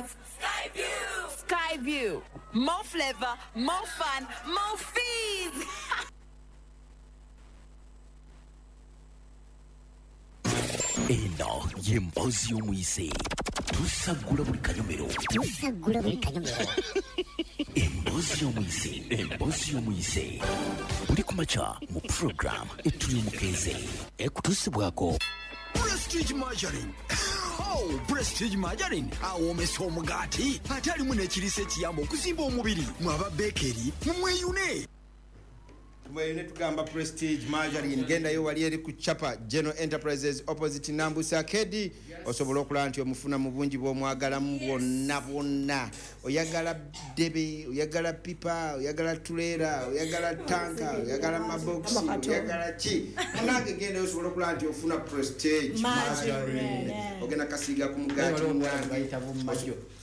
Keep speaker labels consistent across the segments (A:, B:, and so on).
A: With Skyview. Skyview. More flavor, more fun, more fees.
B: Eno y'emboozi y'omuyise. Tusaggula buli kanyomero.
C: Tusaggula buli kanyomero.
B: Emboozi y'omuyise. Emboozi y'omuyise. Buli ku makya mu program Etuli Omukeeze. Ekutuusibwako
D: Prestige Margarine. Oh, Prestige Margarine awoomesa omugaati, ate alimu n'ekiriisa ekiyamba okuzimba omubiri. Mwaba bakery, mumweyune.
E: Tumweyune, tugamba Prestige Margarine. Gendayo wali eri ku Chapa General Enterprises, opposite Nambusa Kedi, osobola okulaba nti omufuna mu bungi bw'omwagalamu bwonna bwonna. Oyagala ddebe, oyagala pipa, oyagala tuleera, oyagala tanka, oyagala mabokisi, oyagala ki, munange gendayo osobola okulaba nti ofuna Prestige Margarine. Ogenda kasiiga ku mugaati, munange.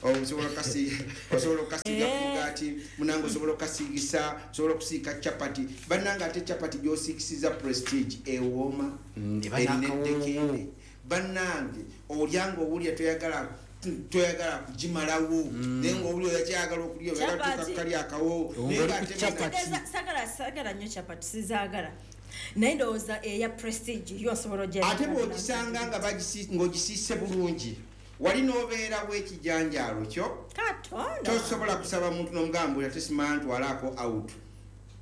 E: Osobola okukasiiga ku mugaati, munange, osobola okukasiigisa, osobola okusiika chapati, bannange. Ate chapati gy'osiikisiza Prestige ewooma, erina eddekende, bannange. Olya nga owulya toyagala kugimalawo, naye nga owulya oyakyayagala okulya, oyagala tuka akawo, naye nga ate
F: Sagala nnyo chapati, sizaagala, naye ndowooza eya Prestige yo osobola ogya.
E: Ate bw'ogisanga nga ng'ogisiise bulungi, wali n'obeerawo ekijanjaalo kyo.
F: Katonda.
E: Tosobola kusaba muntu n'omugamba ate simala ntwalaako out,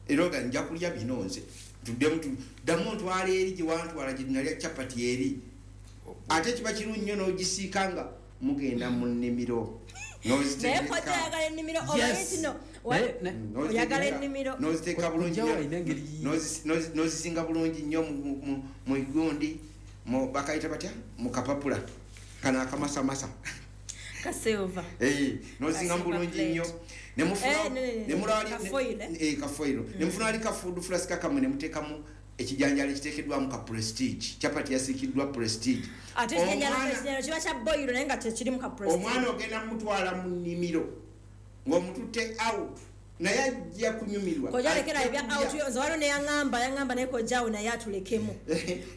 E: era oga nja kulya bino nze, tuddemu ddamu ontwala eri gye wantwala gye nalya chapati eri. Ate kiba kirungi nnyo n'ogisiika nga mugenda mu nnimiro.
F: Naye
E: n'oziteeka
F: kojja oyagala ennimiro, omanyi nti no oyagala ennimiro.
E: N'oziteeka bulungi
G: Kojja
E: nnyo.
G: alina engeri-
E: N'ozizinga bulungi nnyo mu gundi, bakayita batya, mu kapapula kano akamasamasa.
F: Kasilva.
E: Eh, n'ozinga
F: Ka silver
E: bulungi nnyo.
F: plate.
E: Nemufuna
F: Eh, ne-
E: nemulaba
F: ka foil, eh?
E: Eh, ka foil. Nemufuna ali ka food flask kamwe, nemuteekamu ekijanjalo ekiteekeddwamu ka Prestige, chapati yasiikiddwa Prestige.
F: Ate ekijanjalo kiba kya boyiro, naye nga tekirimu ka Prestige.
E: Omwana ogenda mutwala mu nnimiro ng'omututte out, naye ajja kunyumirwa.
F: Kojja lekera
E: Ajja
F: ebya
E: kulya.
F: out yo. Nze waliwo neyaŋŋamba, naye kojjaawo naye atulekemu.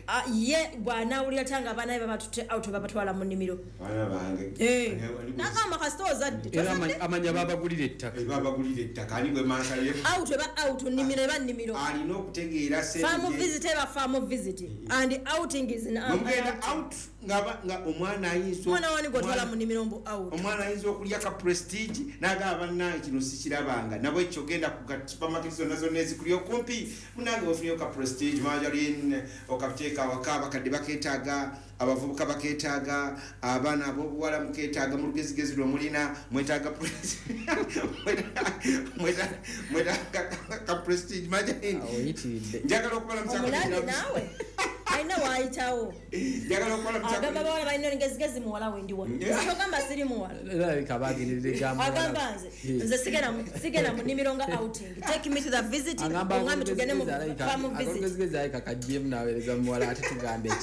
F: Ah, ye bw'anaawulira tanga abaana be babatutte out, babatwala mu nnimiro.
E: Baana bange.
F: Eh, nagamba kasita ozadde
G: Era
F: tozadde.
G: amanya babagulira ettaka.
E: Babagulira ettaka, ani gwe mansaye?
F: Out eba out, nnimiro eba nnimiro.
E: Alina okutegeera
F: Farm
E: sente.
F: visit eba farm visit and outing is an
E: Mugenda out nga omwana ayinza
F: Omwana wani gwotwala mu nnimiro mbu out?
E: Omwana ayinza okulya ka Prestige n'agamba, bannange kino sikirabanga. Nabwekyo genda ku ka supermarket zonna zonna ezikuli okumpi, munange, ofunyeyo ka Prestige Margarine, okateeka awaka. Abakadde bakeetaaga, abavubuka bakeetaaga, abaana ab'obuwala mukeetaaga. Mu lugezigezi lwe mulina mwetaaga mwetaaga ka Prestige Margarine.
G: Oyitiridde.
E: Njagala okubalamusa.
F: Omulabi naawe alina waayitawo.
E: Njagala okubalamusa.
F: Agamba bawala balina olugezigezi, muwala we ndi wano. Togamba siri muwala.
G: Erabika bagenderera egamba.
F: Agamba nze sigenda mu nnimiro nga outing. Take me to the visit.
G: Agamba
F: Ongambe tugende mu farm visit.
G: akolugezigezi alabika kajjemu naweereza muwala, ate tugambe ki?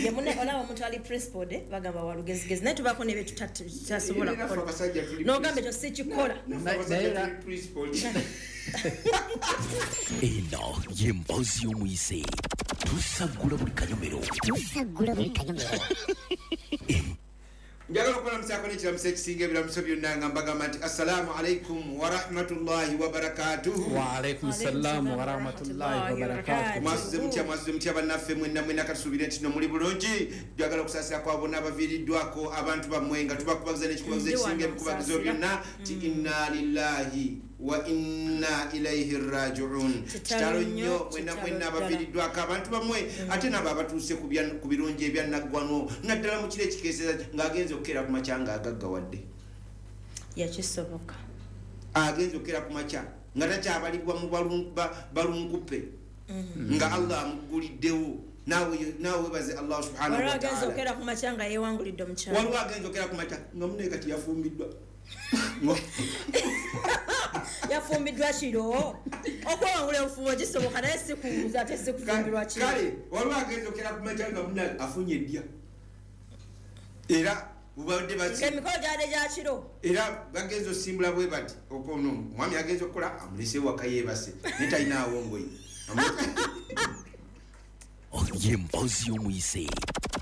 F: Ye munne olaba omuntu ali principled, eh, bagamba walugezigezi, naye tubaako nebye tutasobola
E: Era ffe
F: kukola.
E: abasajja tuli
F: N'ogamba ekyo sikikola.
E: Naffe abasajja
G: Naye era-
E: tuli principled.
B: Eno y'emboozi y'omuyise. Tusaggula buli kanyomero.
C: Tusaggula buli kanyomero.
E: Njagala okubalamusaako n'ekiramuso ekisinga ebiramuso byonna, nga mbagamba nti assalaamu alaikum warahmatullahi wabarakatuhu.
G: Waalaikum salaamu warahmatullahi wabarakatuh.
E: Mwasuze mutya? Mwasuze mutya bannaffe mwenna mwenna? Katusuubire nti no muli bulungi. Njagala okusaasira kwa bonna abaviiriddwako abantu bammwe, nga tubakubagiza n'ekikubagizo
F: Ndi
E: ekisinga
F: wano
E: ebikubagizo
F: nsaasira.
E: byonna ti inna lillahi wa inna ilaihi rajiun.
F: Kitalo
E: Kitalo
F: nnyo,
E: nnyo mwenna
F: kitalo
E: mwenna
F: ddala.
E: abaviiriddwako abantu bammwe, ate nabo abatuuse ku birungi ebyannaggwano, naddala mu kiro ekikeeseza ng'agenza okukeera ku makya ng'agaggawadde.
F: Yakisoboka.
E: Agenza okukeera ku makya nga takyabalibwa mu balunkupe, nga Allah amuguliddewo. Naawe webaze Allah subhanahu
F: Waliwo agenza
E: wataala.
F: okukeera ku makya nga yeewangulidde omukyala.
E: Waliwo agenza okukeera ku makya nga munaye kati yafumbiddwa.
F: Yafumbiddwa kiro. Okwewangula obufumbo kisoboka, naye sikuwuza ate sikufumbirwa kiro.
E: Kale waliwo agenza okukeera ku makya nga munaye afunye eddya, era bubadde
F: Emikolo gyadde gya kiro.
E: Era bagenza osimbula bwe bati, okono omwami agenza okukola, amulese waka yeebase, naye talinaawo ngoye.
B: Y'emboozi y'omuyise.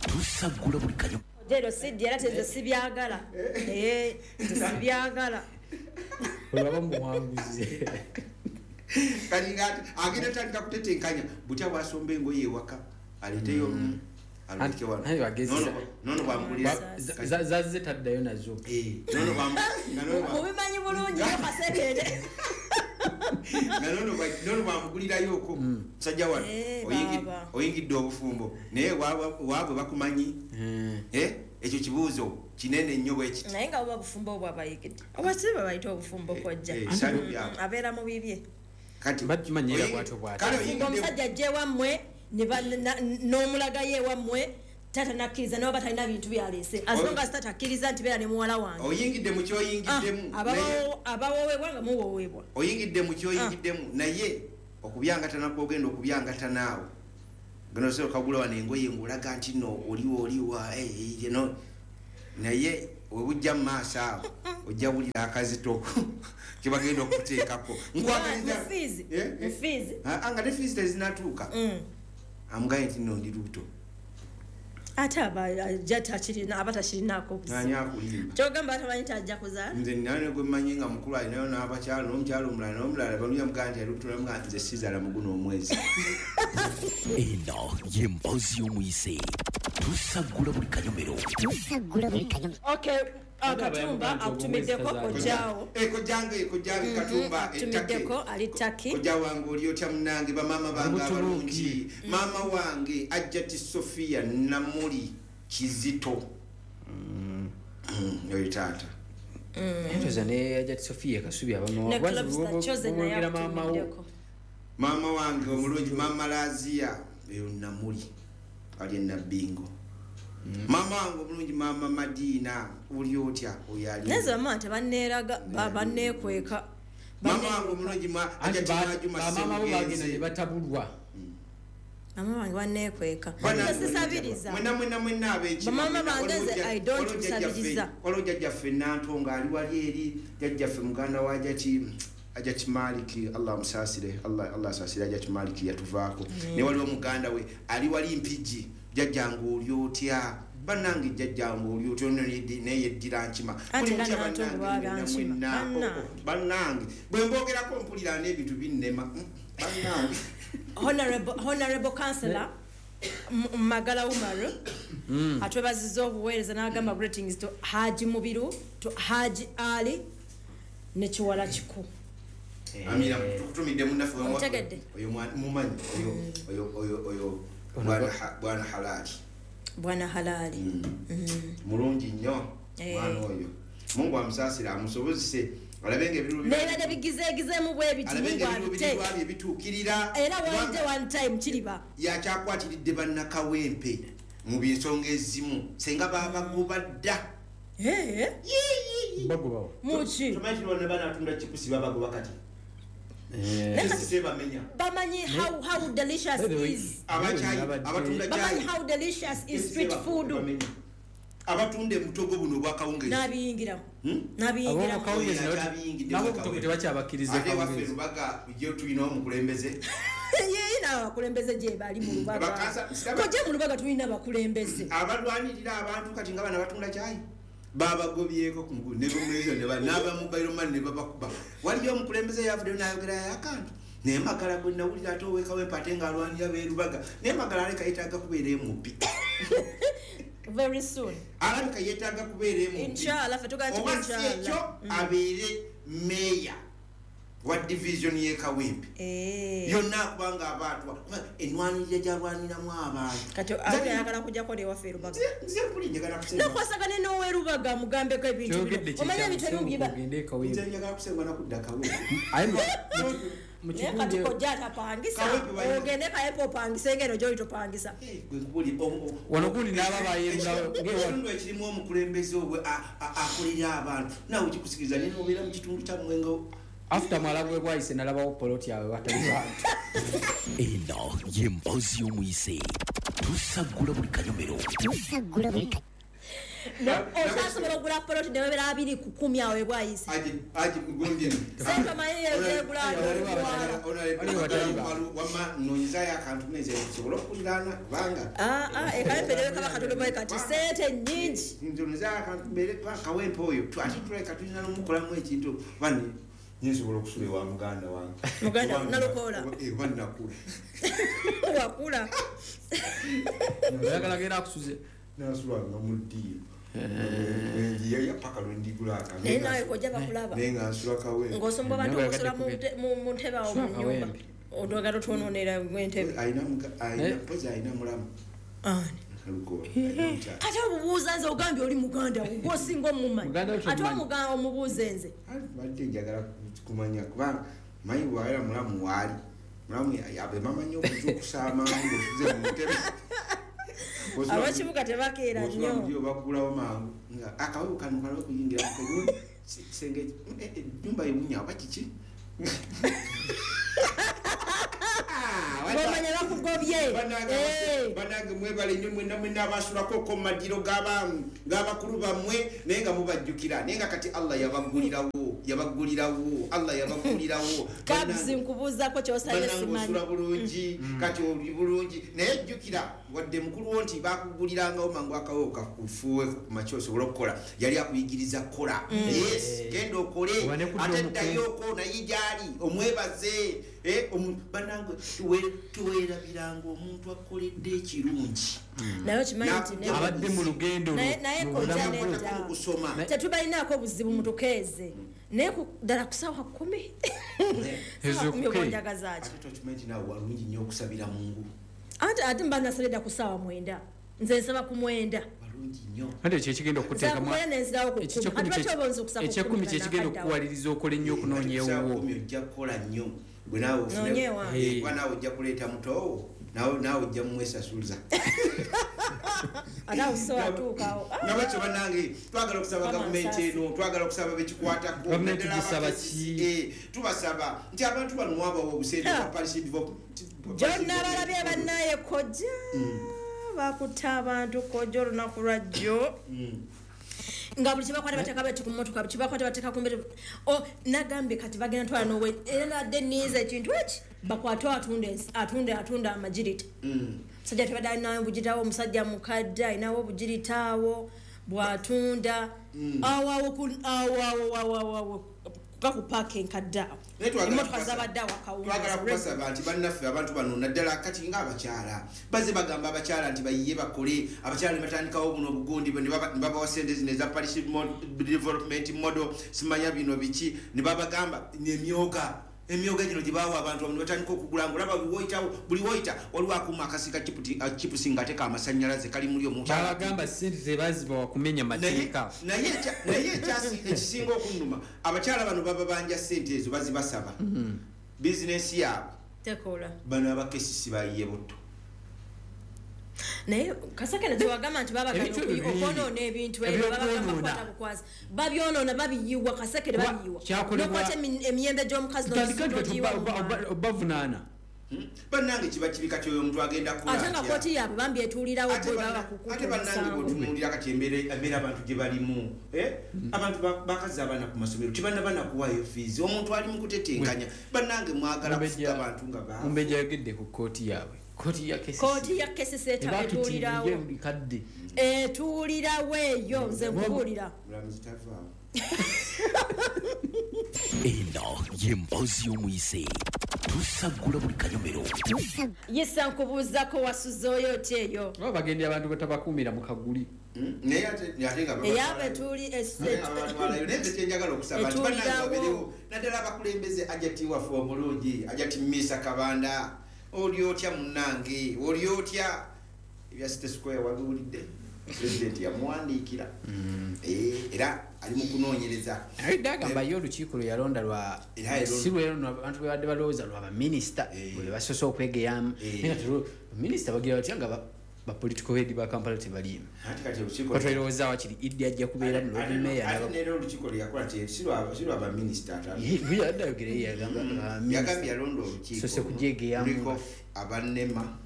B: Tusaggula buli kanyomero.
F: Jero siddi era teze sibyagala. Nze sibyagala.
G: Olaba muwanguzi.
E: Kati nga agenda tandika kutetenkanya butya bwasomba engoye ewaka aleeteyo aleke wano.
G: Naye bagezi.
E: Nono bwamugulira.
G: Zazze taddayo nazo.
E: Nono
F: mubimanyi bulungi nnyo kasekende.
E: Nono bwamugulirayoko musajja wano oyingidde obufumbo naye waabwe bakumanyi. Ekyo kibuuzo kinene nnyo bwe kiti.
F: Naye nga buba bufumbo obwo abayigidde oba si bwe bayita obufumbo kojja abeera mu bibye.
E: Kati
G: bakimanyiira bw'atyo bw'atyo.
F: Omusajja ajja ewammwe n'omulagayo ewammwe taata nakkiriza naye oba talina bintu byaleese as long as taata akkiriza nti beera ne muwala wange.
E: Oyingidde mu kyoyingiddemu.
F: Abawoowebwa nga muwoowebwa.
E: Oyingidde mu kyoyingiddemu naye okubyangatana kwogenda okubyangatana awo. Gano sio kagula wano engoye ng'olaga nti nno oliwo oliwa naye webujja mu maaso awo ojja wulira akazito kye bagenda okuteekako.
F: Nfiizi.
E: Nga ne fiizi tezinatuuka. Amugaye nti nno ndi lubuto.
F: Ate aba takirina aba takirinaako buzibu.
E: Ani akulimba?
F: Ky'ogamba atamanyi nti ajja kuzaala?
E: Nze nina gwe mmanyi nga mukulu alinayo n'abakyala n'omukyala omulala n'omulala baluya mugamba nti ali lubuto namugamba nze sizaala mu guno omwezi.
B: Eno y'emboozi y'omuyise. Tusaggula buli kanyomero.
C: Tusaggula buli kanyomero.
F: Okay. Katumba akutumiddeko kojjaawo.
E: Kojjange kojjange Katumba
F: akutumiddeko ali Turkey.
E: Kojja wange oli otya munnange bamaama bange abalungi. Maama wange Ajjati Sophia Namuli Kizito. Oyo taata.
G: Entoza ne Ajjati Sophia Kasubi abamu.
F: Ne Clubs Chosen naye akutumiddeko.
E: Maama wange omulungi Maama Lazia eyo Namuli ali Nabbingo. Mama wange omulungi Mama Madina oli otya oyo ali.
F: Naye bamaama tebanneeraga banneekweka.
E: Mama wange omulungi Ajjati Majuma
G: Bamaama bo bagenda ne batabulwa.
F: Mama wange banneekweka. Sisabiriza.
E: Mwenna mwenna mwenna ab'ekima.
F: Bamaama bange nze I don't kusabiriza.
E: Waliwo jjajjaffe Nantongo ali wali eri jjajjaffe muganda wa Ajjati Ajjati Maliki Allah amusaasire Allah asaasire Ajjati Maliki yatuvaako. Ne waliwo muganda we ali wali Mpigi. Jjajjange oli otya bannange jjajjange oli otya naye yeddira nkima. Bannange bannange bwe mboogerako mpulira n'ebintu binnema bannange.
F: Honorable Councillor Magala Umaru atwebazizza obuweereza n'agamba greetings to Haji Mubiru to Haji Ali ne Kiwala Kiku.
E: Amira tukutumidde munnaffe oyo mumanyi oyo oyo oyo Bwana Halali.
F: Bwana Halali.
E: Mulungi nnyo mwana oyo. Mungu amusaasire amusobozese alabe ng'ebiruubirirwa
F: Nebadde bigizeegizeemu bwe biti
E: alabe ng'ebiruubirirwa bye bituukirira.
F: Era one day one time kiriba.
E: Yakyakwatiridde bannakawempe mu by'ensonga ezimu singa babagoba dda.
G: Bagobawo.
F: Muki?
E: Tomanyi nti bonna banaatunda kipusi babagoba kati.
F: Bamanyi how delicious is. Bamanyi how delicious is street food.
E: Abatunda emutogo buno obwakawungezi.
F: N'abiyingiramu. N'abiyingiramu.
G: Nabo obutogo tebakyabakkiriza
E: Ate waffe Lubaga gye tulina omukulembeze.
F: Ye abakulembeze gye bali mu Lubaga. Kojja mu Lubaga tulina abakulembeze.
E: Abalwanirira abantu kati nga bano abatunda kyayi. Babagobyeko ku mugulu ne bumwezo ne n'aba mobile money ne babakuba. Waliyo omukulembeze yavuddeyo n'ayogerayo akantu. Naye Magala gwe nawulira ate ow'e ate ng'alwanira b'e Lubaga. Naye Magala aleka yeetaaga kubeera MP.
F: Very soon.
E: Alabika yeetaaga kubeera MP.
F: Inshallah ffe tugamba nti
E: Oba si
F: inshallah.
E: ekyo abeere meeya wa division y'e Kawempe. Yonna kubanga abaatwa enwanirira gy'alwaniramu abantu.
F: Kati awuli ayagala kujjako newaffe e Lubaga.
E: Nze mpuli njagala kusenga.
F: N'okwasagana n'ow'e Lubaga mugambeko ebintu bino. Omanyi ebintu ebimu biba.
E: Nze njagala kusenga na kudda Kawempe.
F: Naye kati kojja atapangisa. Ogende Kawempe opangise ng'eno gy'oli topangisa.
G: Wano gundi n'aba bayerulawo.
E: Ekitundu ekirimu omukulembeze obwe akolera abantu. Naawe kikusikiriza naye n'obeera mu kitundu kyammwe nga
G: After mwalabwe bwayise nalabawo poloti awe watali bantu.
B: Eno y'emboozi y'omuyise. Tusaggula buli kanyomero.
C: Tusaggula buli kanyomero.
F: Okyasobola okugula poloti newebera 2 ku 10 awo ebwayise.
E: Aji gundi.
F: Sente omanyi ezegula.
E: Wama nonyizayo akantu neze nsobola okuliraana kubanga
F: Ekawempe newe kaba katono bwe kati, sente nnyingi.
E: Nze nonyizayo akantu mbeere kawempe oyo ate tulabika tulina nomukolamu ekintu bani nsobola okusula ewa muganda wange.
F: Muganda Nalukoola.
E: Oba nakula.
F: Wakula.
G: Oyagala genda akusuze.
E: Nasulanga mu ddiiro njiyeyo paka lwendigula akantu.
F: Naye nawe kojja bakulaba.
E: Naye nga nsula kawempe.
F: Ng'osomba abantu
G: Naye
F: okusula mu ntebe awo mu
G: Sula
F: nnyumba.
G: kawempe.
F: Odwagala otwonoonera entebe.
E: Alina mpozi alina mulamu.
F: Ani?
E: Nalukoola alina omukyala.
F: Kati obubuuza nze, ogambye oli muganda wo, gwosinga omumanyi.
G: Muganda wo
F: Ate
G: tomumanyi.
F: omuganda omubuuze nze.
E: Badde njagala kumanya kubanga manyi bwawera mulamu waali mulamu abe bamanyi okuzuukusa amangu ng'osuze mu ntebe.
F: Abakibuga tebakeera
E: Bw'osula
F: nnyo.
E: mu ddiiro baggulawo mangu nga akawewo kano kalabe kuyingira kisenge ennyumba ewunya oba kiki.
F: Bwomanya bakugobye.
E: Banange mwebale nnyo mwenna mwenna abasulako ko mu madiro g'abakulu bammwe, naye nga mubajjukira, naye nga kati Allah yabaggulirawo, yabaggulirawo, Allah yabaggulirawo.
F: Kabs, nkubuuzaako kyosabye.
E: Bannange
F: Simanyi.
E: osula bulungi, kati oli bulungi, naye jjukira wadde mukulu wo nti bakugulirangawo mangu akawewo kakufuuweko ku makya osobole okukola, yali akuyigiriza kukola. Yes, genda okole.
G: Oba ne kudda
E: Ate
G: omuke.
E: ddayoko naye gyali omwebaze. Bannange tuweerabiranga omuntu akoledde ekirungi.
F: Naye okimanyi nti
G: Abadde mu lugendo
F: Naye
G: mu
F: kojja
G: bulamu bwe.
F: nedda.
E: Mu kusoma.
F: Tetubalinaako buzibu, mutukeeze, naye ddala ku saawa 10, saawa 10
G: Ezokuke.
F: obonjagazaaki?
E: Ate tokimanyi nti naawe walungi nnyo okusabira mungu?
F: Ate ate mba nasabye dda ku saawa 9, nze nsaba ku 9.
E: Walungi nnyo.
G: Ate ekyo ekigenda okuteekamu
F: Nza kumwenda nenzirawo ku
G: ekyo
F: 10. Ate lwaki oba onza okusaba ku
G: ekyekumi
F: 10
G: kyekigenda
F: nga
G: okukuwaliriza okola ennyo okunoonya
E: Ate ku ssaawa
G: ewuwo.
E: 10 ojja kukola nnyo gwe naawe
F: Noonye ewange.
E: Kuba naawe ojja kuleeta mutoowo, naawe ojja mumwesasuliza.
F: Ate awo so atuukawo.
E: Nga batyo bannange twagala okusaba
F: Mama
E: gavumenti
F: nsaasi.
E: eno, twagala okusaba bekikwatako.
G: Gavumenti
E: naddala
G: gisaba
E: aba
G: ki?
E: KCCA, tubasaba nti abantu bano mwabawa obusente
F: Ha.
E: bwa parish
F: Gyonna balabye bannaye kojja bakutta abantu kojja olunaku lwajjo nga buli kyebakwata bateeka bati ku mmotoka, buli kyebakwata bateeka ku mbere. O nagambye kati bagenda twala nowe era nadde niiza ekintu eki bakwate atunda atunda amagirita. Omusajja tebadde alinawo obugiritawo, omusajja mukadde alinawo obugirita awo bwatunda awo awo awo awo awo awo awo ga ku paaka enkadde awo.
E: Naye twagala
F: Emmotoka
E: kubasaba-
F: zabadde awo
E: twagala
F: akawunga.
E: kubasaba nti bannaffe abantu bano naddala kati ngaabakyala bazze bagamba abakyala nti bayiye bakole, abakyala ne batandikawo buno obugundi ne babawa sente zino eza parish development model, simanya bino biki, ne babagamba emyoga emyoga gino gye bawa abantu ne batandika okugula nga olaba buli woyitawo, buli woyita waliwo akuuma akasika chipusi nga teka amasannyalaze kali muli omukyala.
G: Babagamba sente tebazibawa kumenya mateeka.
E: Naye ekisinga okunnuma, abakyala bano baba banja sente ezo bazibasaba bizinesi yaabwe.
F: Tekola.
E: Bano abakesisi bayiye butto.
F: Naye kasakene tewagamba nti babagala
G: Ebintu ebyo bingi.
F: okwonoona ebintu ebyo babagamba
G: Ebyokwonoona.
F: kukwata bukwasi, babyonoona, babiyiwa kasekere.
G: Kuba
F: Babiyiwa
G: kyakolebwa-
F: nokwata emiyembe gy'omukazi
G: Tutandike nti
F: n'ogiyiwa mu mwana.
G: obavunaana.
E: Bannange kiba kibi kati oyo omuntu agenda kukola
F: Ate nga
E: atya?
F: kooti yaabwe bambi etuulirawo
E: Ate
F: bwe baba
E: ate bannange
F: kukuta.
E: bwotunuulira kati embeera abantu gye balimu, eh? Abantu bakazza abaana ku masomero, tebanaba nakuwaayo fiizi, omuntu ali mu kutetenkanya. Bannange mwagala kufuga abantu nga baavu.
G: Mumbejja ayogedde ku kooti yaabwe, kooti ya KCC.
F: Kooti ya KCC etuulirawo.
G: Ebatutirire buli kadde.
F: Etuulirawo eyo, nze nkubuulira.
E: Mulamuzi tavaawo.
B: Eno ye mboozi y'omuyise, tusaggula buli kanyomero.
F: Yisa, nkubuuzako, wasuze oyo oti eyo?
G: Oba bagendera abantu batabakuumira mu kaguli.
E: Naye ate nga
F: Eyaabwe etuuli
E: Naye abatwalayo. Naye nze kyenjagala okusaba nti bannange
F: Etuulirawo.
E: babeerewo, naddala abakulembeze. Ajati waffe omulungi, ajati Misa Kabanda, oli otya munnange, oli otya? Ebya City Square wabiwulidde, pulezidenti yamuwandiikira. Era ali mu kunoonyereza.
G: Naye dde agamba ye olukiiko lwe yalonda lwa
E: Era yalonda.
G: si lwe luno abantu bwe badde balowooza lwa baminisita bwe basoose okwegeyamu. Naye kati baminisita bagira batya nga ba political head ba Kampala tebaliimu?
E: Ate kati olukiiko
G: Batwalowooza wakiri Iddi ajja kubeera mu Lord Mayor
E: Ate neera olukiiko lwe yakola si lwa baminisita ate.
G: Yadde ayogera ye yagamba baminisita.
E: Yagambye yalonda olukiiko
G: Sose kugyegeyamu.
E: luliko abanema.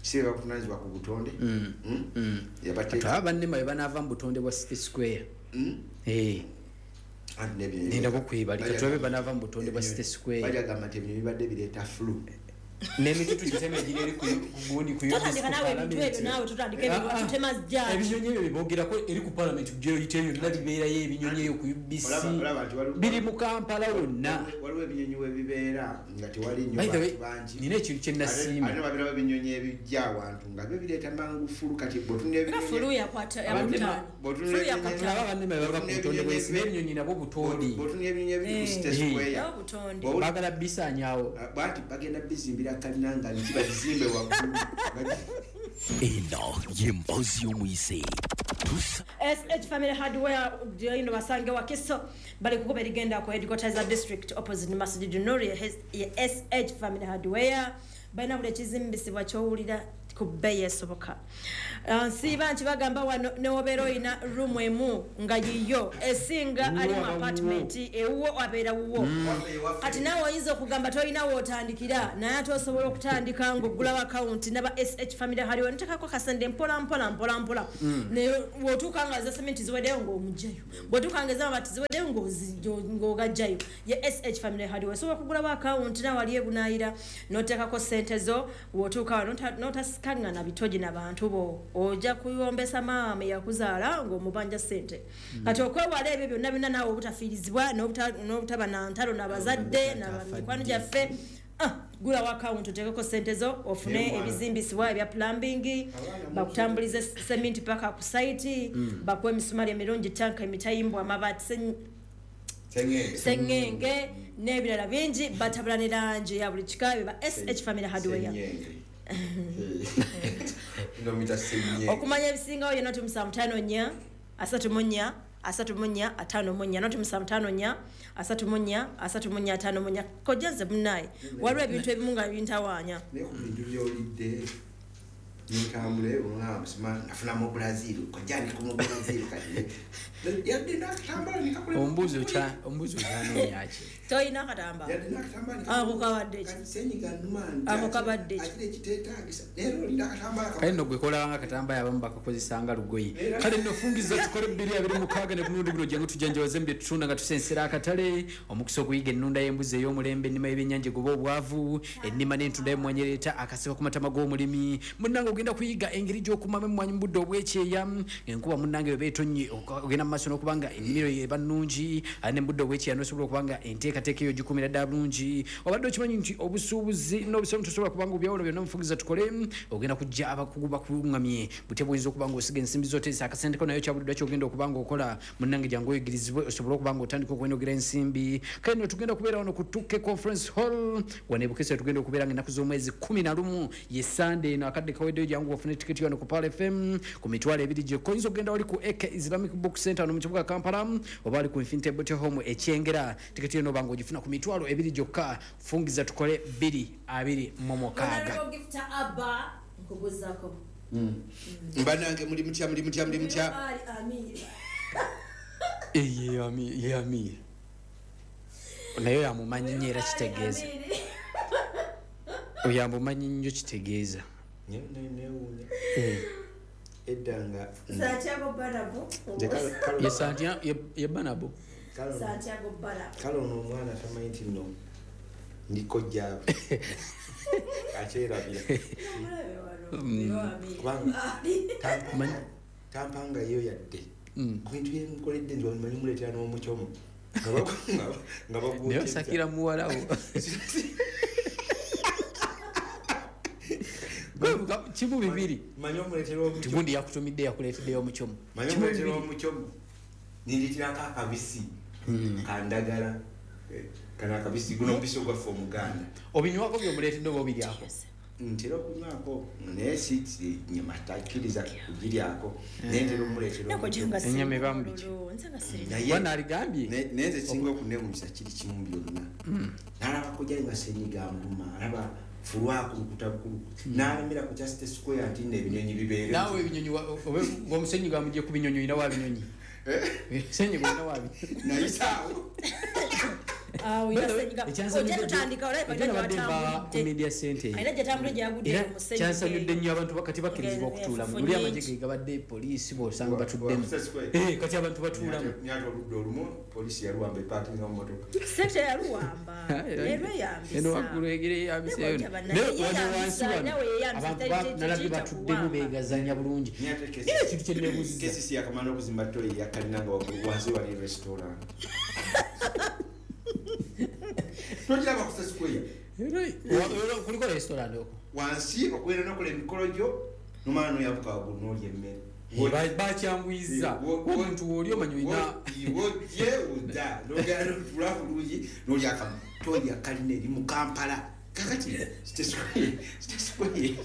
E: Si bakuvunanyizibwa ku butonde. Yabateeka
G: Aba bannema bwe banaava mu butonde bwa City Square. Eh,
E: anti n'ebinyonyi
G: nenda kukwebalika tulabe banaava mu butonde bwa City Square.
E: Bajagamba nti ebinyonyi bibadde bireeta flu.
G: N'emitutu gitema egiri eri ku gundi ku
F: Totandika naawe ebintu ebyo, naawe tutandika ebintu tutema jjaaki.
G: Ebinyonyi ebyo bebogerako eri ku parliament gyoyiteyo yonna bibeerayo ebinyonyi eyo ku UBC.
E: Olaba nti
G: Biri mu Kampala wonna.
E: Waliwo ebinyonyi webibeera nga tewali nnyo
G: By the way,
E: bantu bangi.
G: nina ekintu kye nasiima.
E: Ate babirawo ebinyonyi ebijja awantu nga byo bireeta mangu fulu. Kati bw'otunula
F: Nga fulu yakwata
G: Abannema-
F: yakutaano. Fulu yakwata.
G: Tulaba bannema bwe bava ku butonde bw'ensi n'ebinyonyi nabwo butonde.
E: Bw'otunula ebinyonyi ebiri ku City Square,
F: Nabo butonde.
G: Baagala bisaanyaawo.
E: Bwati bagenda bizimbira kalina nga nti bagizimbe waggulu.
B: Eno y'emboozi y'omuyise tusa
F: SH Family Hardware ino basange Wakiso, bali kukuba erigenda ku headquarters za district opposite Masjid Nur. Ya SH Family Hardware balina buli ekizimbisibwa kyowulira ku bbeeyi esoboka. Nsiiba nti bagamba wano newobeera olina room emu nga yiyo esinga ali mu apartment ewuwo abeera wuwo. Kati naawe oyinza okugamba tolina wootandikira, naye ate osobola okutandika ng'oggulawo akawunti naba SH Family Hardware notekako kasente mpola mpola mpola mpola, naye bw'otuuka nga za sementi ziweddeyo ng'omugjayo, bw'otuuka nga ez'amabaati ziweddeyo ng'ogajjayo. Ye SH Family Hardware osobola okugulawo akawunti nawe wali ebunaayira n'oteekako sente zo, bw'otuuka wano n'otasikaŋŋana bitogi na bantu bo, ojja kuyombesa maama eyakuzaala ng'omubanja sente. Kati okwewala ebyo byonna byonna naawe obutafiirizibwa n'obutaba na ntalo n'abazadde n'abamikwano gyaffe, gulawo akawunti oteekeko sente zo ofune
E: Naye mwana.
F: ebizimbisibwa ebya plumbing, bakutambulize sementi paka ku site, bakuwe emisumali emirungi, tanka, emitayimbwa, amabaati,
E: Sengenge.
F: sengenge n'ebirala bingi, batabula ne langi ya buli kika. Beba SH Family Hardware.
E: Sengenge. Nomita sengenge.
F: Okumanya ebisingawo ye 075 4 34 34, 075 4 34 34. Kojja nze munnaye waliwo ebintu ebimu nga bintawaanya.
E: Naye ku bintu byolidde nentambula olaba sima nafuna mu Brazil, kojja ndi ku mu Brazil kati yadde nakatambala nekakola.
G: Ombuzi okyanoonya ki?
F: Tolina akatamba?
E: Yadde nakatambala.
F: Ako kabadde ki?
E: Kati senyiga nnuma nti
F: Ako kabadde ki?
E: Akira ekiteetaagisa leero olina akatambala
G: Kale nno gwe kolabanga akatambala abamu bakakozesa nga lugoye. Kale nno fungiza tukole 2026 ne ku mulundi guno jangu tujanjawaze mu bye tutunda nga tusensera akatale. Omukisa okuyiga ennunda y'embuzi ey'omulembe, ennima y'ebyennyanja egoba obwavu, ennima n'entunda y'emmwanyi ereeta akaseba ku matama g'omulimi. Munnange ogenda kuyiga engeri gy'okumamu emmwanyi mu budde obwekyeya, enkuba munnange bweba etonnye ogenda mu maaso n'okuba nga ennimiro yo eba nnungi, ate ne mu budde obwekyeya n'osobola okuba nga enteekateeka eyo ogikumira ddala bulungi. Obadde okimanyi nti obusuubuzi n'obusiraamu tosobola kubanga obyawulo byonna? Mufungiza tukole ogenda kujja abakugu bakuluŋŋamye butya bwoyinza okuba nga osiga ensimbi zoteesa akasente ko nayo kyabuliddwa kyogenda okuba nga okola. Munnange jangu oyigirizibwe osobole okuba nga otandika okwenogera ensimbi. Kale nno tugenda kubeera wano ku Tuke Conference Hall wano e Bukesa, tugenda okubeera nga ennaku z'omwezi 11 ye Sande eno. Akadde kaweddeyo, jangu ofune tiketi wano ku Pearl FM ku 20,000 gyokka. Oyinza okugenda wali ku AK Islamic Book Center wano mu kibuga Kampala oba wali ku Infinity Beauty Home Ekyengera. Tiketi eno obanga ogifuna ku 20,000 gyokka. Fungiza tukole 2026.
F: Honorable Gifter Abba, nkubuzaako.
E: Mbanange muli mutya, muli mutya, muli mutya?
F: Ali Amiri.
G: Ye Amir naye yamumanyi nnyo era kitegeeza
F: Amiri.
G: oyo amumanyi nnyo kitegeeza.
E: Newuunya edda nga
F: Santiago Barabo.
E: Nze
G: Ye Santia ye Banabo.
F: Santiago Barabo.
E: Kale ono omwana tamanyi nti nno ndi kojjaabwe, akyerabira.
F: Omulabe wano, Amiri.
E: Kubanga
G: Manyi-
E: tampangayo yadde ku bintu byenkoledde nti manyi muleetera n'omukyomo nga
G: Naye
E: bagwokeza.
G: osakira muwalawo kimu bibiri.
E: Manyi omuleetera omukyomo.
G: Tigundi yakutumidde yakuleeteddeyo omukyomo.
E: Manyi omuleetera omukyomo ninditirako akabisi kandagala. Kano akabisi, guno omubisi ogwaffe omuganda.
G: Obinywako byomuleetedde oba obiryako?
E: Ntera okunywako naye si nyama takkiriza kugiryako, naye ntera omuleetera
F: Nako
E: omukyomo.
F: gye nga
G: Ennyama
F: sirina
G: eba mu biki?
F: mululu, nze nga sirina.
E: Naye
G: Bwana aligambye.
E: Naye nze singa okunewunyisa kiri kimu byonna, nalabako gyali nga senyiga nguma alaba fulwakulukuta bukulu n'alemera ku kya City Square nti nno ebinyonyi bibeere.
G: Naawe ebinyonyi omusenyi gwamugye ku binyonyi olina wa binyonyi, senyi gwolina wa binyonyi.
E: Nayisaawo.
G: Kyansanyudde nnyo abantu kati bakkirizibwa okutuulamu. Luli amagye ge gabadde poliisi bw'osanga batuddemu. Kati abantu batuulamu.
E: Oludda olumu poliisi yaluwamba epaakinga mu mmotoka.
F: Sekita yaluwamba.
G: Eno waggulu egira eyambiseeyo. Naye wansi wano abantu nalabye batuddemu beegazanya bulungi. Era ekintu kye neebuuzizza.
E: KCC yakamala okuzimba ttoyi yakalina nga waggulu wansi wali restaurant. Tokiraba ku Square.
G: Kuliko restaurant okwo.
E: Wansi okubeera n'okola emikolo gyo nomala n'oyabuka waggulu n'olya emmere.
G: Bakyanguyizza omuntu w'oli omanyi olina
E: wojje odda n'ogenda n'otuula bulungi n'olya akamu. Ttoyi yakalina eri mu Kampala. Kakati City Square.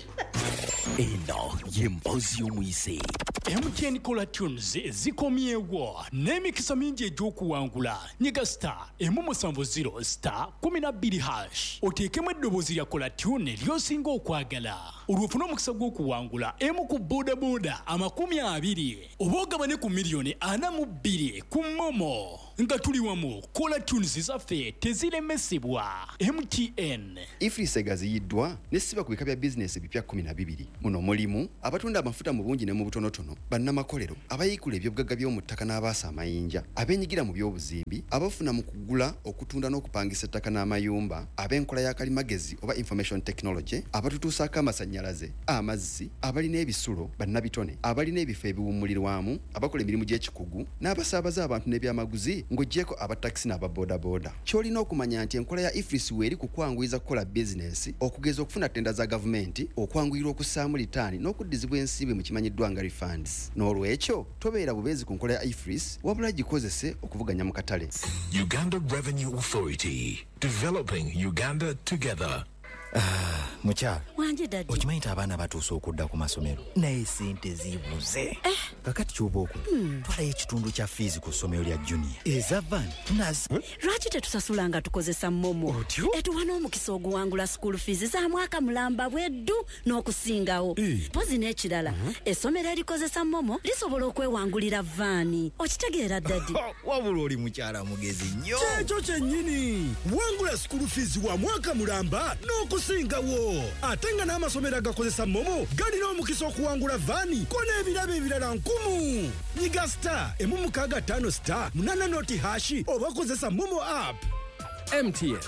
B: Eno y'emboozi y'omuyise.
H: MTN Caller Tunes zikomyewo n'emikisa mingi egy'okuwangula. Nyiga star 170 star 12# oteekemu eddoboozi lya Caller Tune ly'osinga okwagala, olwo ofune omukisa gw'okuwangula emu ku bodaboda 20 oba ogabane ku miliyoni 42 ku MoMo. Nga tuli wamu, Caller Tunes zaffe teziremesebwa. MTN.
I: EFRIS egaziyiddwa nesiba ku bika bya bizinesi ebipya 12. Muno mulimu abatunda amafuta mu bungi ne mu butonotono, bannamakolero, abayiikula ebyobugagga by'omu ttaka n'abaasa amayinja, abeenyigira mu by'obuzimbi, abafuna mu kugula, okutunda n'okupangisa ettaka n'amayumba, ab'enkola ya kalimagezi oba information technology, abatutuusaako amasannyalaze, amazzi, abalina ebisulo, bannabitone, abalina ebifo ebiwummulirwamu, abakola emirimu gy'ekikugu, n'abasaabaza abantu n'ebyamaguzi ng'oggyeko abatakisi n'ababoodabooda. Ky'olina okumanya nti enkola ya EFRIS weeri ku kwanguyiza kukola bizinesi, okugeza okufuna ttenda za gavumenti, okwanguyirwa okussaamu litaani n'okuddizibwa ensimbi mu kimanyiddwa nga refunds. N'olwekyo tobeera bubeezi ku nkola ya EFRIS, wabula gikozese okuvuganya mu katale.
J: Uganda Revenue Authority, developing Uganda together.
K: Mukyala okimanyi nti abaana batuuse okudda ku masomero naye sente zibuze. Kakati kyoba okola, twalayo ekitundu kya fiizi ku ssomero lya junior eza van nazi.
L: Lwaki tetusasula nga tukozesa MoMo? Etuwa n'omukisa oguwangula school fees za mwaka mulamba bweddu n'okusingawo. Mpozi n'ekirala, essomero erikozesa MoMo lisobola okwewangulira vaani. Okitegeera daddy?
K: Wabula oli mukyala mugezi nnyo.
M: Kyekyo kyennyini, wangula school fees wa mwaka mulamba n'okusingawo. Ate nga n'amasomero agakozesa MoMo galina omukisa okuwangula vaani ko n'ebirabo ebirala 10. Nyiga star 165 star 8 noti hash oba kozesa MoMo app.
N: MTN.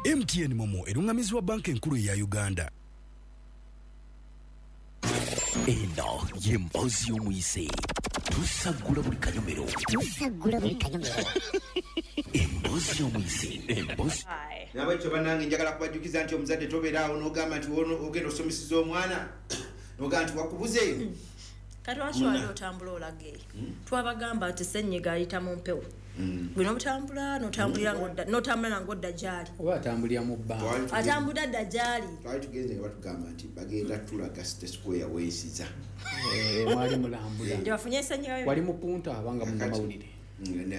M: MTN MoMo erungamizibwa banka enkulu eya Uganda.
B: Eno y'emboozi y'omuyise. Tusaggula buli kanyomero.
C: Tusaggula buli kanyomero.
B: Emboozi y'omuyise. Emboozi.
E: Nabwekyo bannange njagala kubajjukiza nti omuzadde tobeeraawo n'ogamba nti ogenda osomeseza omwana n'ogamba nti wakubuze.
F: Kati lwaki wali otambula olaga eyo? Twabagamba nti ssenyiga ayita mu mpewo. Gwe n'otambula n'otambulira n'otambula ng'odda gy'ali.
G: Oba atambulira mu bbanga.
F: Atambula dda gy'ali.
E: Twali tugenze nga batugamba nti bagenda tulaga City Square weesiza.
G: Mwali mulambula.
F: Nti bafunye ssenyiga.
G: Wali mupunta abanga munnamawulire.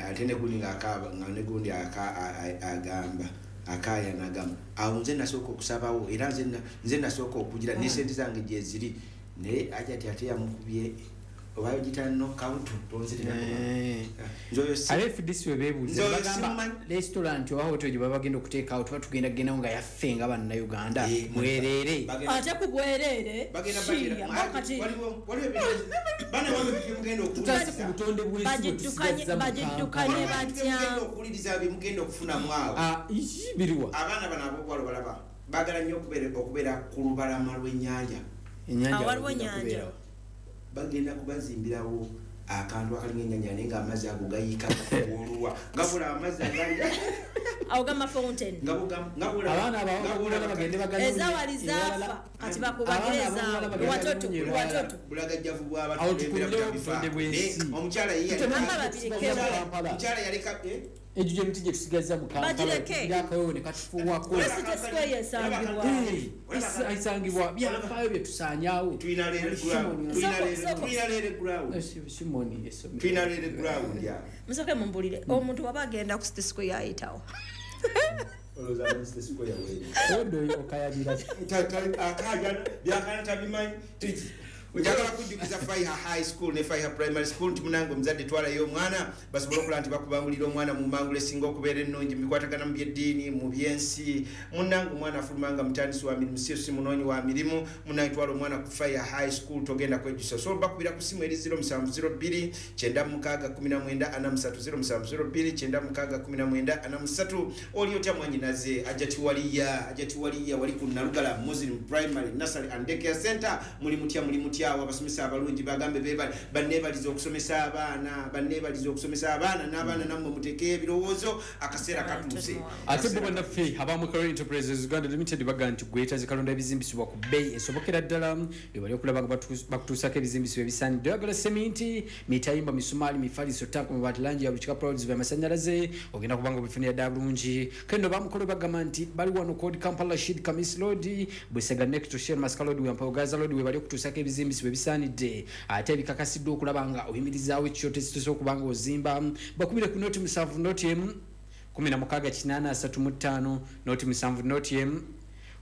E: Ate ne gundi ng'akaaba nga ne gundi agamba akaaya n'agamba awo nze nasooka okusabawo era nze nasooka okugira ne sente zange gye ziri. Naye aja ate yamukubye oba ogita knockout tonzirira.
G: Ate FDC we beebuuza bagamba restaurant oba hotel gye baba bagenda okuteekawo tuba tugenda kugendawo nga yaffe nga bannayuganda mwereere.
F: Ate ku bwereere.
G: Tutase ku butonde bw'ensi bwe tusigazza mu
F: Bagiddukanye batya?
E: Okuwuliriza bye mugenda okufunamu awo.
G: Biriwa.
E: Abaana bano ab'obuwala balaba baagala nnyo okubeera ku lubalama lw'ennyanja.
F: Waliwo ennyanja.
E: Bagenda kubazimbirawo akantu akalinga ennyanja naye ng'amazzi ago gayiika oluwa nga bula amazzi agali
F: awo gamba fountain.
G: Abaana abawala bagende baganye
F: ezawali zaafa kati bakubagire ezaabwe watoto watoto.
E: Bulagajjavu bw'abantu. Omukyala ye omukyala yaleka
G: Egyo gy'emiti gye tusigazza mu Kampala akawewo ne katufuuwako. Esangibwa byafaayo bye tusaanyaawo.
E: Tulina
G: Simoni essomero.
E: Tulina leere ground ya.
F: Musooke mumbulire omuntu waba agenda ku City Square ayitawo.
E: Olowooza City Square weeri.
G: Oddo okayabira.
E: Akaayana byakaana tabimanyi. Njagala kujjukiza Faiha High School ne Faiha Primary School nti munange omuzadde twalayo omwana basobole okulaba nti bakubangulira omwana mu mangula esinga okubeera ennungi mu bikwatagana mu byeddiini, mu byensi. Munange omwana afulumanga mutandisi wa mirimu, si munoonyi wa mirimu. Munange twala omwana ku Faiha High School, togenda kwejjusa. Osobola bakubira ku ssimu eri 0702 96 19 43, 0702 96 19 43. Oli otya mwanyinaze Ajati Waliya, wali ku Nalugala Muslim Primary Nursery and Daycare Center. Muli mutya, muli mutya awo abasomesa abalungi bagambe bebali banneebaliza okusomesa abaana, banneebaliza okusomesa abaana n'abaana nammwe muteeke ebirowoozo, akaseera katuuse.
G: Ate bo bannaffe abamu Enterprises Uganda Limited baga nti gweta zikalonda ebizimbisibwa ku bbeeyi esobokera ddala, bali okulaba nga bakutuusako ebizimbisibwa ebisaanidde. Oyagala seminti, mitayimba, misumaali, mifaliso, tanka, mabaati, langi ya buli kika, products by'amasannyalaze, ogenda kubanga obifunira ddala bulungi. Kendo bamukolo bagamba nti bali wano Code Kampala Rashid Kamis Road, Busega next to Shell Masaka Road, Wampa Gaza Road, we bali okutuusako ebizimbisibwa ebisaanidde ate ebikakasiddwa okulaba nga oyimirizaawo ekyoto ekituuse okuba nga ozimba. Bakubire ku noti 7 noti emu 16 8 35, noti 7 noti emu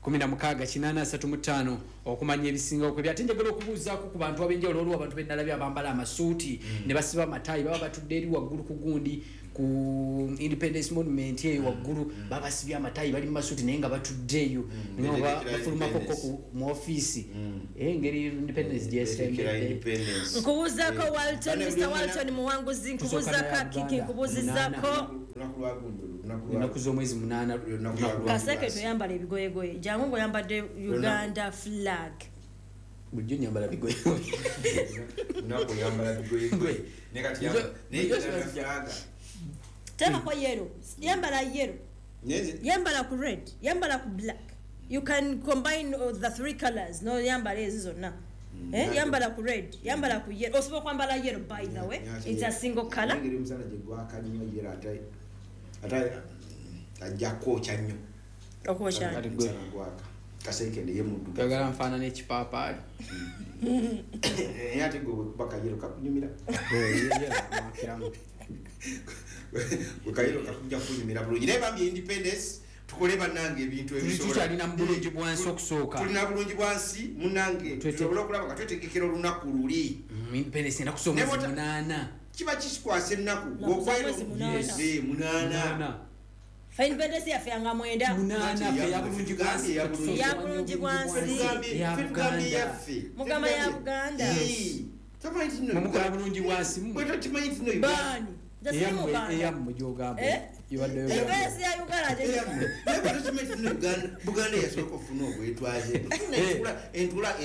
G: 16 8 35 okumanya ebisinga okwebya. Ate njagala okubuuzaako ku bantu ab'enjawulo, olwo abantu bennalabye abambala amasuuti ne basiba amataayi, baba batudde eri waggulu ku gundi ku Independence Monument eyo waggulu, babasibye amataayi, bali mu masuuti naye nga batudde eyo, bafulumako ko mu ofiisi engeri Independence gyesembedde.
F: Nkubuuzaako Walton, Mr Walton Muwanguzi, nkubuuzaako Kiki, nkubuuzizaako
G: ennaku z'omwezi 8.
F: Kaseke toyambala ebigoyegoye, jangu ng'oyambadde Uganda flag.
G: Bulijjo nyambala bigoyegoye.
E: Lunaku oyambala bigoyegoye. Naye kati Uganda flag.
F: Teekako yellow, yambala yellow, yambala ku red, yambala ku black. You can combine the three colors. No yambala ezo zonna. Yambala ku red, yambala ku yellow. Osobola okwambala yellow, by the way. It's a single color.
E: Engeri omusana gye gwaka nnyo yellow ate ajja kwokya nnyo.
F: Okwokya.
E: Omusana gwaka. Kasekende ye muddugavu.
G: Oyagala nfaanana ekipaapaali.
E: Naye ate gwe bwekuba kayero kakunyumira. Gwe kayero kakujja kukunyumira bulungi. Naye bambi Independence tukole bannange ebintu ebisobola.
G: Tukyalina mu bulungi bwansi okusooka.
E: Tulina bulungi bwansi munnange, tusobole okulaba nga twetegekera olunaku luli.
G: Independence ennaku z'omwezi 8.
E: Kiba kikwasa ennaku. 8.
F: Independence yaffe yanga 9.
G: 8 ya bulungi bwansi.
F: Ya bulungi bwansi.
E: Tugambye yaffe.
F: Mugamba ya Buganda.
G: Mumukola bulungi bwansi.
E: Bwe tokimanyi nti no
F: Baani.
G: Eyammwe gy'ogamba.
F: Independence ya Uganda.
E: Buganda yasooka okufuna obwetwaze. Entula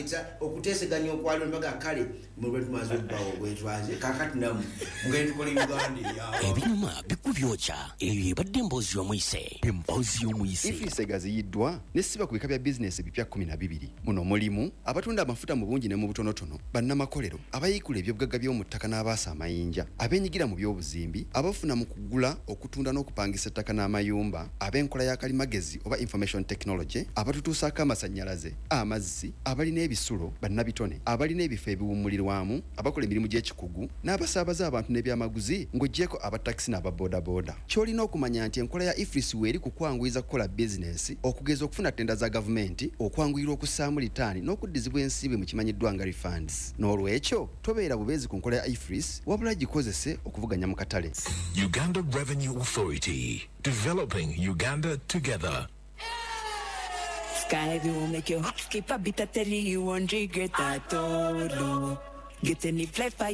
E: okuteeseganya okwaliwo ne bagamba kale mwe tumaze okubawa obwetwaze kaakati nammwe mugende tukole Uganda eyaabwe.
B: Ebinyuma bikubyokya, eyo ebadde emboozi y'omuyise. Emboozi y'omuyise.
I: Ifisa egaziyiddwa n'essiba ku bika bya bizinesi ebipya 12. Muno mulimu abatunda amafuta mu bungi ne mu butonotono, bannamakolero, abayiikula ebyobugagga by'omu ttaka n'abaasa amayinja, abeenyigira mu by'obuzimbi, abafuna mu kugula, okutunda n'okupangisa ettaka n'amayumba, ab'enkola ya kalimagezi oba information technology, abatutuusaako amasannyalaze, amazzi, abalina ebisulo, bannabitone, abalina ebifo ebiwummulirwamu, abakola emirimu gy'ekikugu, n'abasaabaza abantu n'ebyamaguzi ng'oggyeko abatakisi n'ababoodabooda. Ky'olina okumanya nti enkola ya IFRIS weeri ku kwanguyiza kukola bizinesi, okugeza okufuna ttenda za gavumenti, okwanguyirwa okussaamu litaani n'okuddizibwa ensimbi mu kimanyiddwa nga refunds. N'olwekyo tobeera bubeezi ku nkola ya IFRIS, wabula gikozese okuvuganya mu katale.
J: Uganda Revenue Authority, developing Uganda together.
A: Sky will make your heart skip a beat at 31 regret at all. Get any flight for